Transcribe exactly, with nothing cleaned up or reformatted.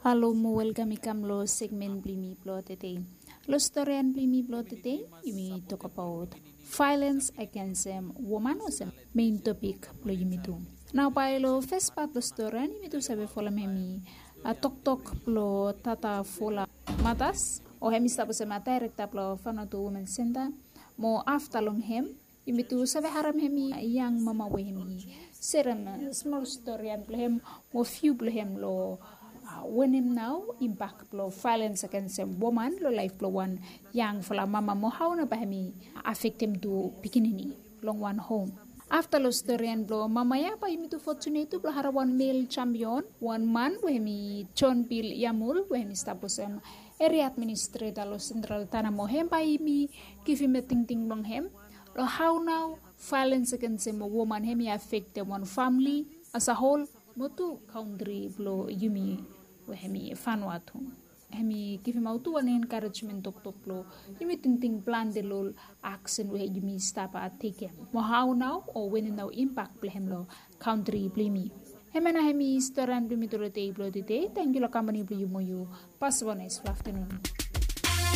Halo mo welkam i kam long segmen blong yumi blong tede. Long storian blong yumi blong tede, yumi tokbaot vaelens agensem woman olsem mein topik blong yumi tu. Nao bae long fes pat blong storian yumi tu save folem hem i toktok blong tata fola matas, o hem i stap olsem daerekta blong Vanuatu Women Centre. Mo afta long hem yumi tu save harem hem i yang mama we hem i serem smol storian blong hem mo viu blong hem long wanem nao impak blong vaelens agensem woman long laef blong wan yangfala mama mo hao nao bae hem i afektem tu pikinini long wan hom. Afta long storian blong mama ya bae yumi tu fotunet tu blong harem wan mel jampion, wan man we hem i Jon Bil Yamul we hem i stap olsem eria administreta long Sentral Tana mo hem bae yumi givim tingting blong hem long hao nao vaelens agensem woman hem i afektem wan famle asahol mo tu kantri blong yumi we hem i Vanuatu. Hem i givimaot tu wan enkarejmen toktok blong yumi tingting plante long ol aksen we yumi stap tekem mo hao nao o wanem nao impak blong hem long kantri blong yumi. Hemia nao hem i storian blong yumi tu long dei blong tede. Tangkiu long kampani blong yu mo yu pasem wan naes aftanun.